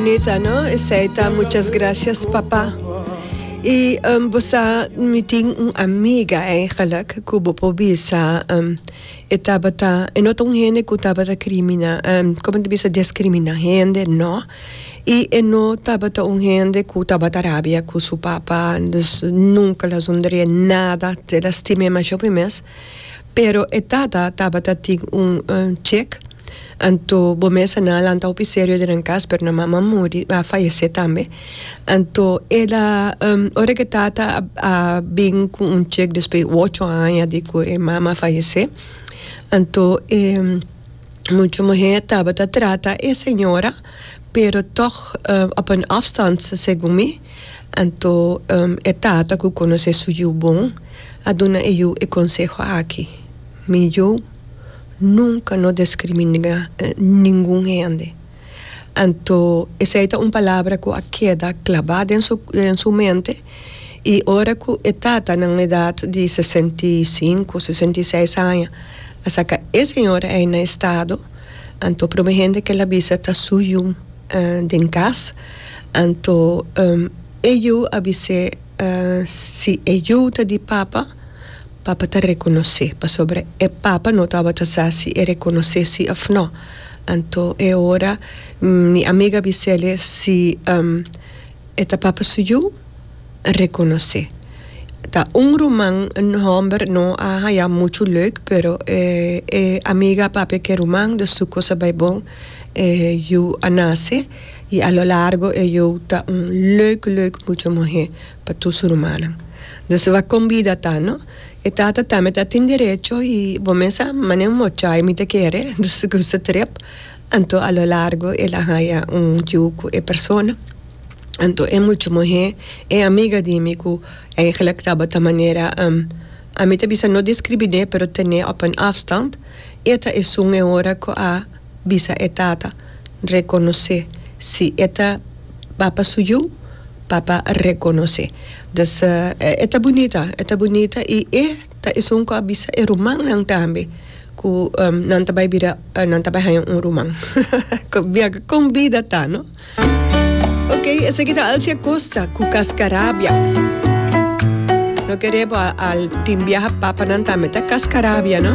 Bunita no? Esey ta muchas gracias papa. Y bo sa mi tin un amiga eigenlijk cu bo por bisa e tabata e no ta un hende cu tabata crimina como ta bisa discrimina hende no y e no tabata un hende cu tabata rabia cu su papa dus nunca lo a zundrie nada el a stim'e masha hopi mes pero e tata tabata tin un chek. Anto bo mes a nan lanta hopi serio den nan cas pero nan mama a muri a fayece tambe anto el a ora cu e tata a bin cu un check despues di ocho aña di cu e mama a fayece anto e mucha muher tabata trata e señora pero toch op een afstand segun mi anto e tata cu conoce su yu bon a duna e yu e conseho aki mi yu. Nunca no discriminá ningun hende. Anto esei ta un palabra cu a keda clabá den su den su mente y ora cu e tata nan edad di 65, 66 aña a saca e señora ei na estado, anto prome hende cu el a bisa ta su yu den cas, anto e yu a bis'é si e yu ta di papa, Papa ta rekonosé, pasobra e papa no tabata sa si e rekonosé si òf nò. Anto e ora mi amiga a bis'el si e ta papa su yu, rekonosé. Ta un ruman hòmber no a haña muchu leuk, pero e e amiga a papia ku e ruman, dus su kos a bai bon. E yu a nase i a lo largo e yu ta un leuk leuk mucha muhé pa tur su rumannan. Dus wak kon bida ta, no? E tata tambe ta tin derecho y bo mes a mane un mochai mi ta kere, dus ku su trip. Anto a lo largo el a haya un yu ku e persona. Anto e mucha muhé, e amiga di mi ku eigenlijk tabata manera, ami ta bisa no discriminé pero ten'é op een afstand, e ta esun e ora ku a bisa e tata rekonosé si e ta papa su yu. Papa rekonosé. Dus e ta bunita, e ta bunita i e ta esun ku a bisa e rumannan tambe ku nan ta bai bira, nan ta bai haña un ruman. Kon bida ta, no? Ok, esaki ta Alcia Costa ku Cascarabia. No kere bo al tin biaha papanan tambe ta cascarabia, no?